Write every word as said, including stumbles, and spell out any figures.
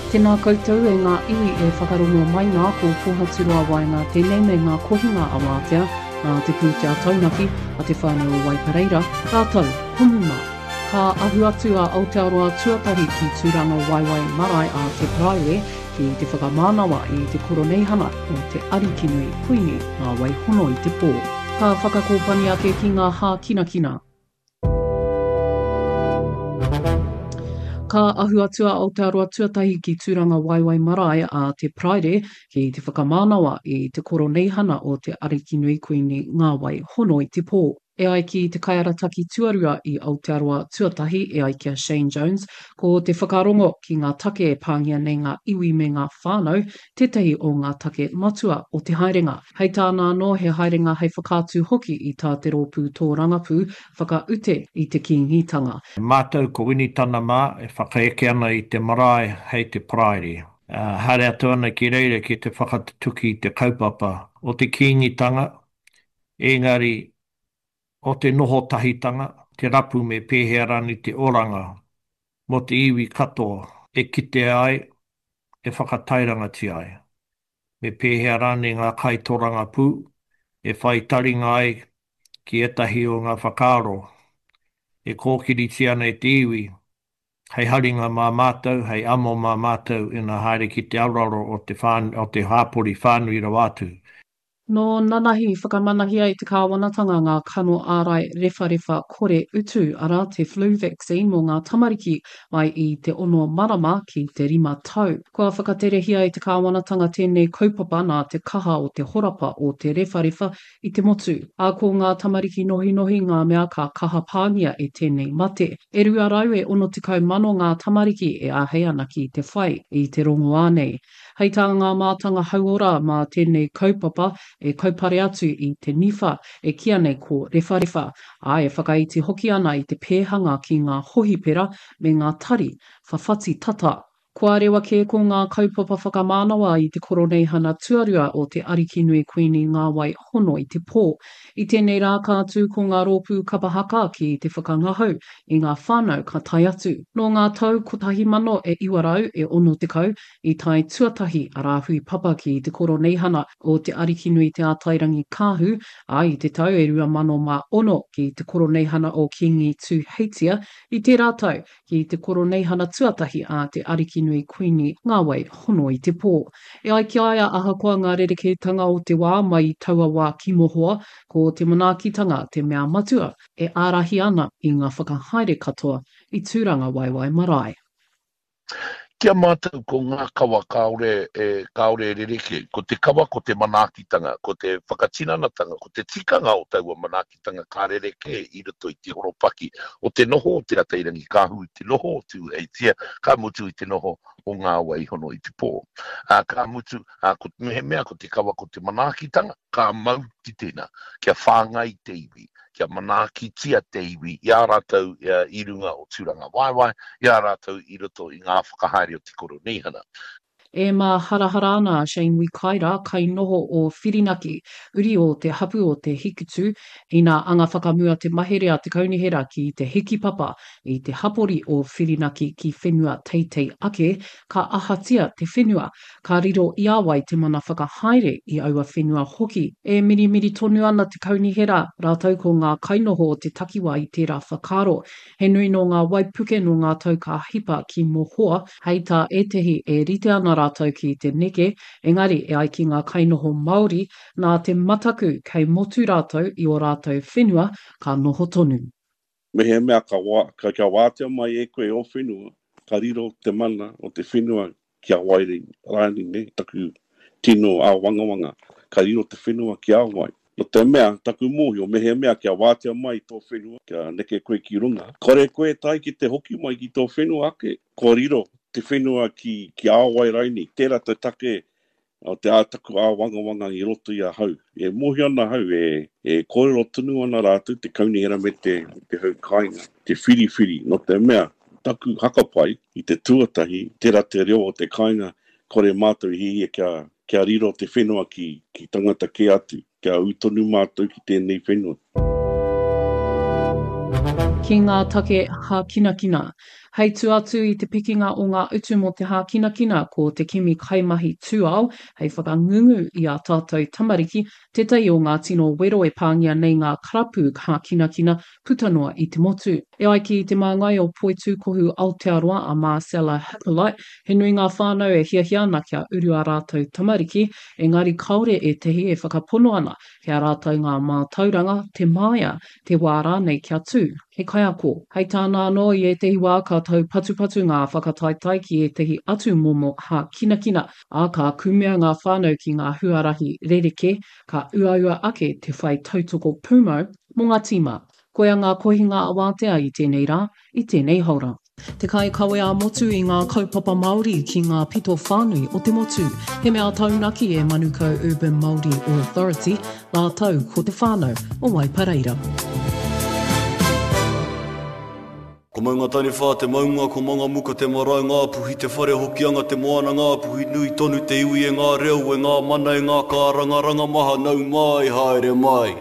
Tēnā koutou e ngā iwi e whakarongo mai nā, ko Pōhaturoa Waenga tēnei me ngā kohinga a Wātea, nā te pūtea taunaki a te whānau o Waipareira, rātou ko Muma. Ka ahu atu a Aotearoa Tuatahi ki Tūrangawaewae Marae a Te Paraire ki te whakamānawa i te koroneihana o te Arikinui Kuini Ngā Wai Hono i te Pō. Ka whakakōpani ake ki ngā hākinakina. Ka ahu atu a Aotearoa Tuatahi ki Tūrangawaewae Marae a Te Paraire ki te whakamānawa i te koroneihana o te Arikinui Kuini Ngā Wai Hono i te Pō. E ai ki te kaiarataki tuarua i Aotearoa Tuatahi, e ai ki a Shane Jones, ko te whakarongo ki ngā take e pāngia nei ngā iwi me ngā whānau tētahi o ngā take matua o te haerenga. Hei tāna anō, he haerenga hei whakaatu hoki i tā te rōpū tōrangapū whakaute i te Kīngitanga. Mātou ko Winitana mā e whakaeke ana i te marae hei te Paraire. Haere atu ana ki reira ki te whakatutuki i te kaupapa o te Kīngitanga, engari o te noho tahitanga, te rapu me pēhea rānei te oranga mō te iwi katoa e kitea ai, e whakatairangatia ai. Me pēhea rānei ngā kaitorangapū e whai taringa ai ki ētahi o ngā whakaaro e kōkiritia ana e te iwi hei haringa mā mātou, hei amo mā mātou ina haere ki te aroaro o te, o te hāpori whānui rawa atu. Nō nanahi i whakamanahia e te kāwanatanga ngā kano ārai rewharewha kore utu, arā, te flu vaccine mō ngā tamariki mai i te ono marama ki te rima tau. Kua whakaterehia e te kāwanatanga tēnei kaupapa nā te kaha o te horapa o te rewharewha i te motu. Ā, ko ngā tamariki nohinohi ngā mea ka kaha pāngia e tēnei mate. E rua rau e ono tekau mano ngā tamariki e āhei ana ki te whai i te rongoā nei. Hei tā ngā mātanga hauora mā tēnei kaupapa e kaupare atu i te niwha e kīia nei ko rewharewha, ā, e whakaiti hoki ana i te pēhanga ki ngā hohipera me ngā tari whawhati tata. Kua rewa kē ko ngā kaupapa whakamānawa i te Koroneihana Tuarua o te Arikinui Kuini Ngāwai Hono i te Pō. I tēnei rā ka tū ko ngā rōpū kapa haka ki te whakangahau i ngā whānau ka tae atu. Nō ngā tau kotahi mano e iwa rau e ono tekau i tae tuatahi a Rāhui Papa ki te Koroneihana o Te Arikinui Te Ātairangikaahu, ā, i te tau e rua mano mā ono ki te Koroneihana o Kīngi Tūheitia, i tērā tau ki te Koroneihana tuatahi a Te Arikinui Kuini Ngāwai Hono i te Pō. E ai ki a ia ahakoa ngā rerekētanga o te wā mai i taua wā ki mohoa, ko te manaakitanga te mea matua e ārahi ana i ngā whakahaere katoa i Tūrangawaewae Marae. Ki a mātou ko ngā kawa kāore e, kāore e rerekē. Ko te kawa ko te manaakitanga, ko te whakatinanatanga, ko te tikanga o taua manaakitanga ka rerekē i roto i te horopaki o te noho o Te Atairangikaahu, i te noho o Tūheitia, ka mutu i te noho o Ngā Waihono i te pō. Ā, ka mutu, ā, ko, mehemea ko te kawa ko te manaakitanga, ka mau ki tēnā, kia whāngai te iwi, kia manaakitia te iwi i a rātou i runga o Tūrangawaewae, i a rātou i roto i ngā whakahaere o te Koroneihana. E māharahara ana a Shane Wikaira, kainoho o Whirinaki, uri o te hapu o Te Hikutu, ina anga whakamua te mahere a te kaunihera ki te hikipapa i te hapori o Whirinaki ki whenua teitei ake, ka ahatia te whenua, ka riro i a wai te mana whakahaere i aua whenua hoki. E mirimiri tonu ana te kaunihera rātou ko ngā kainoho o te takiwā i tērā whakaaro. He nui nō ngā waipuke nō ngā tau ka hipa ki mohoa, hei tā ētehi e rite ana rātou ki te neke, engari e ai ki ngā kainoho Māori, nā te mataku kei motu rātou i ō rātou whenua ka noho tonu. Mehemea ka, ka, kia wātea mai e koe ō whenua, ka riro te mana o te whenua ki a wai rānei, nē, taku tino āwangawanga, ka riro te whenua ki a wai. No te mea, taku mōhio, mehemea kia wātea mai tō whenua, kia neke koe ki runga, kore koe tae ki te hoki mai ki tō whenua ake, kua riro te whenua ki, ki a wai raini. Tērā te take o te ā taku āwangawanga i roto i ahau. E mōhio ana ahau, e, e kōrero tonu ana rātou te kaunihera me te, me te hau kāinga, te whiriwhiri, no te mea, taku hakapai i te tuatahi, tērā te reo o te kāinga, kore mātou i hiahia kia, kia riro te whenua ki, ki tangata kē atu, kia ū tonu mātou ki tēnei whenua. Ki ngā take hākinakina. Hei tua atu i te pikinga o ngā utu mō te hākinakina, ko te kimi kaimahi tūao hei whakangungu i ā tātou tamariki tētahi o ngā tino wero e pāngia nei ngā karapu hākinakina puta noa i te motu. E ai ki te māngai o Poitūkohu Aotearoa a Marcella Hippolyte, he nui ngā whānau e hiahia ana kia uru ā rātou tamariki, engari kāore ētahi e whakapono ana kei a rātou ngā mātauranga, te māia, te wā rānei kia tū he kaiako. Hei tāna anō, i ētahi wā ka taupatupatu ngā whakataetae ki ētahi atu momo hākinakina, ā, ka kumea ngā whānau ki ngā huarahi rerekē, ka uaua ake te whai tautoko pūmau mō ngā tīma. Koia ngā kohinga awātea i tēnei rā, i tēnei haora. Te kaikawe ā-motu i ngā kaupapa Māori ki ngā pito whānui o te motu. He mea taunaki e Manukau Urban Māori Authority rātou ko te whānau o Waipareira. Ko Maungataniwha te maunga, ko Mangamuka te marae, Ngāpuhi te whare, Hokianga te moana, Ngāpuhi nui tonu te iwi e ngā reo, e ngā mana, e ngā kārangaranga maha, nau mai, haere mai.